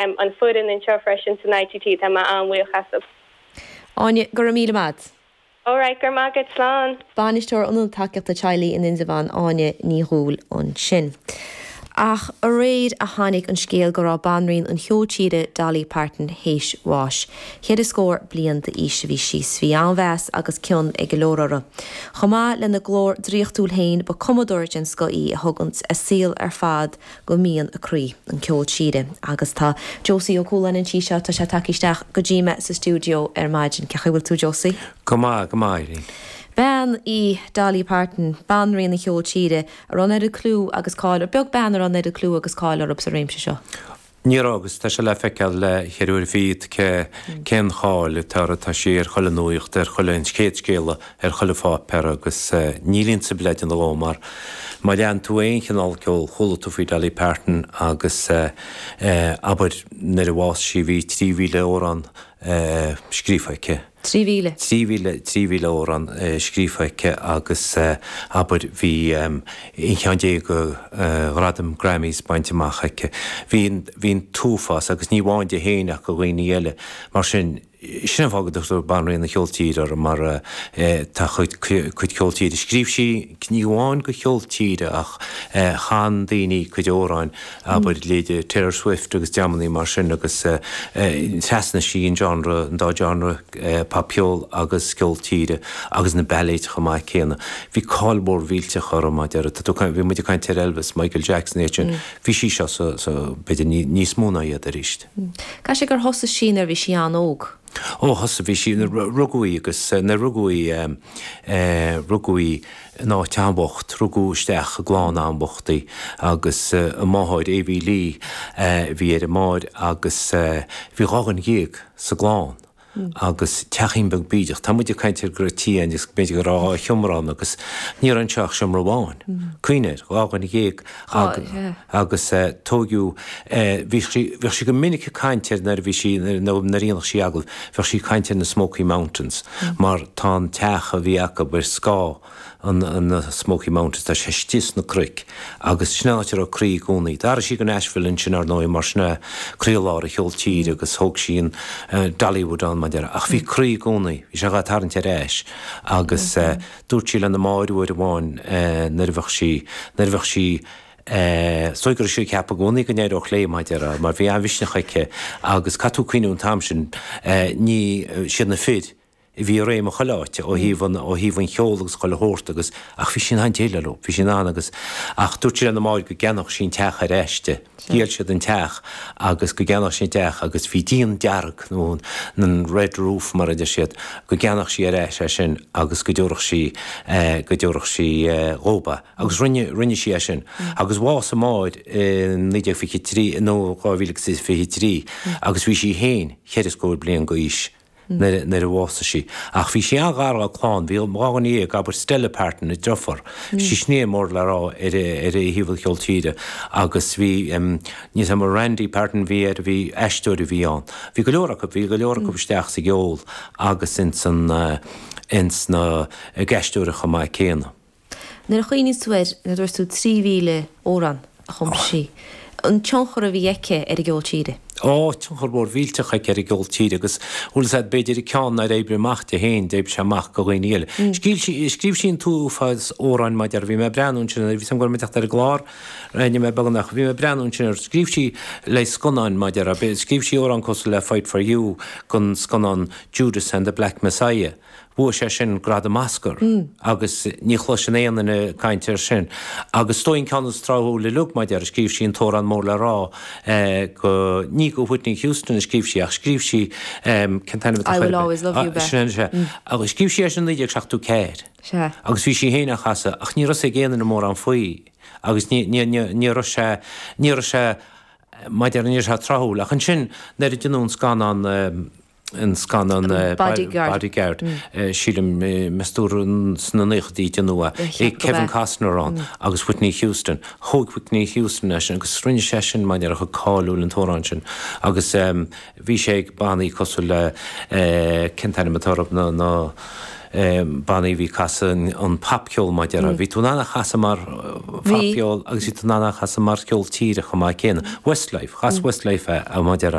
An foireann anseo freisin san ITT, tá mé an-bhuíoch astu. Áine, go raibh míle maith agat. Alright, go raibh maith agat, slán. Bainisteoir Ionad Tacaíochta Teaghlaigh in Indreabhán, Áine Ní Dhúill ansin. Ach aréir a tháinig an scéal go raibh banríon an cheoil tíre Dolly Parton théis bháis. Cheithre scór bliain d'aois a bhí sí 's bhí an-mheas agus cion ag go leor uirthi. Chomh maith lena glór draíochtúil féin ba cumadóir den scoth í a thug a saol ar fad go mian a croí, an ceol tíre. Agus tá Josie Ó Cualáin anseo, tá sé tagtha isteach go dtí mé sa stiúideo ar maidin. Cén chaoi a bhfuil tú, Josie? Go maith, go maith, Irene. Bean í Dolly Parton, banríon an cheoil tíre, a raibh an oiread clú agus cáil, beag bean a raibh an oiread clú agus cáil orthu sa réimse seo. Ní raibh agus tá sé le feiceáil le cheithre uaire fichead cé cén cháil atá uirthi, tá sí ar chuile nuaíocht, ar chuile, an chéad scéala ar chuile pháipéar agus níl ionsaí le déanamh dhó mar má lean tú aon chineál ceoil chuala tú faoi Dolly Parton agus abair nuair a bhásaigh sí bhí 3,000 amhrán scríofa aici. 3,000. 3,000, 3,000 amhrán scríofa aici agus abair bhí aon cheann déag de ghradaim Grammys bainte amach aici. Bhí an, bhí an t-uafás agus ní amháin di féin ach do dhaoine eile. Mar sin, sin an fáth go dtugtar Banríon an Cheoil Tíre uirthi mar tá a cuid, cuid ceol tíre. Scríobh sí ní amháin do cheol tíre ach chan daoine cuid amhráin abair leithéidí Taylor Swift agus dreamannaí mar sin agus trasnaigh sí an genre, an dá genre, popcheol agus ceol tíre agus na bailéid chomh maith céanna. Bhí cáil mhór mhillteach uirthi mar a deir, tá tú ag caint, bhí muid ag caint ar Elvis, Michael Jackson iad sin, bhí sí seo sa, sa, b'fhéidir níos mó ná iad arís. Caithfidh sé gur thosaigh sí nuair a bhí sí an-óg. Ó thosaigh, bhí sí, rugadh í agus nuair a rugadh í, rugadh í in áit an-bhocht, rugadh isteach i gclann an-bhocht í agus a máthair, Avie Lee, bhí ar a máthair agus bhí 12 dhuine sa gclann agus teachín beag bídeach. Tá muid ag caint ar go raibh tí ann agus b'fhéidir go raibh dhá sheomra ann agus ní raibh anseo ach seomra amháin. Cuimhnigh air, 12 dhuine agus tóigeadh, bhí sí, bheadh sí go minic ag caint ar nuair a bhí sí, nuair a dhéanadh sí agallamh, bheadh sí ag caint ar na Smoky Mountains mar tá an teach a bhí acu ar scáth an, na Smoky Mountains, tá sé istigh sna cnoic agus sin an áit a raibh a croí i gcónaí. D'athraigh sí go Nashville ansin ar ndóigh mar sin é croílár an cheoil tíre agus thóg sí an Dollywood ann mar a déarfá ach bhí a croí i gcónaí, bhí sé dhá tarraingt ar ais agus Dúirt sí lena máthair uair amháin nuair a bheadh sí, nuair a bheadh sí, is dóigh go raibh sí ag ceapadh i gcónaí go n-éireodh léi, mar a déarfá, mar bhí an-mhisneach aici agus caithfidh tú cuimhniú an t-am sin, ní, siad na fir a bhí i réim i chuile áit ó thaobh an, ó thaobh an cheoil agus chuile shórt agus, ach bhí sí in ann déileáil leo, bhí sí in ann agus, ach dúirt sí lena máthair go gceannódh sí an teach ar ais di. Dhíol siad an teach agus go gceannódh sí an teach agus bhí díon dearg nó an red roof mar a deir siad, go gceannódh sí ar ais é sin agus go dtabharfadh sí, go dtabharfadh sí dhób é. Agus rinne, rinne sí é sin. Agus bhásaigh a máthair i 1923 nó 2023 agus bhí sí féin cheithre scór bliain d'aois. nuair a bhásaigh sí. Ach bhí sí an-ghar dá clann, bhí 12 dhuine, abair Stella Parton, a driofúr, bhí sí sin mór le rá ar ar thaobh an cheoil tíre agus bhí níl 'fhios a'm Randy Parton bhí air, bhí aisteoir a bhí ann. Bhí go leor acu, bhí go leor acu isteach sa gceol agus ins an ins na ag aisteoireacht chomh maith céanna. Nuair a chuimhníonns tú air, nuair a dúirt tú 3,000 amhrán a chum sí, an tionchar a bhí aici ar an gceol tíre? Ó, tionchar mór mhillteach aici ar an gceol tíre agus, bhfuil 'fhios a'd, b'fhéidir an ceann nár oibrigh amach di féin, d'oibrigh sé amach do dhaoine eile. Scríobh sí, scríobh sí an t-uafás amhráin mar a déarfá, bhí mé ag breathnú ansin, bhí 'fhios a'm go raibh mé ag teacht ar an gclár, rinne mé beagnach, bhí mé ag breathnú ansin ar, scríobh sí le scannáin mar a déarfá, scríobh sí amhrán cosúil le Fight For You don scannán Judas and the Black Messiah. Bhuaigh sé sin gradam Oscar agus ní chloiseann aon duine ag caint air sin. Agus is dóigh an ceann is tráthúla uilig, mar a déarfá, scríobh sí an t-amhrán mór le rá go, ní go Whitney Houston a scríobh sí ach scríobh sí, cén t-ainm atá I Will Always Love You, Sin é, sea. Agus scríobh sí é sin i 1974. Sea. Agus bhí sí féin á chasadh ach ní raibh 'fhios ag aon duine mórán faoi agus ní, ní, ní, ní raibh sé, ní raibh sé, mar a déarfá, ní raibh sé tráthúil. Ach ansin nuair a deineadh an scannán, an scannán Bodyguard. Bodyguard, sílim, meas tú sna naochaidí a deineadh é, Kevin Costner ann agus Whitney Houston. Thóg Whitney Houston é sin agus rinne sé sin mar a déarfá chomh cáiliúil an t-amhrán sin agus bhí sé ag bannaí cosúil le, cén t-ainm atá orthu, na, na. Bannaí a bhí ag casadh an popcheol mar a déarfá. Bhí tú in ann a chasadh mar phopcheol agus bhí tú in ann a chasadh mar cheol tíre chomh maith céanna. Westlife, chas Westlife é mar a déarfá.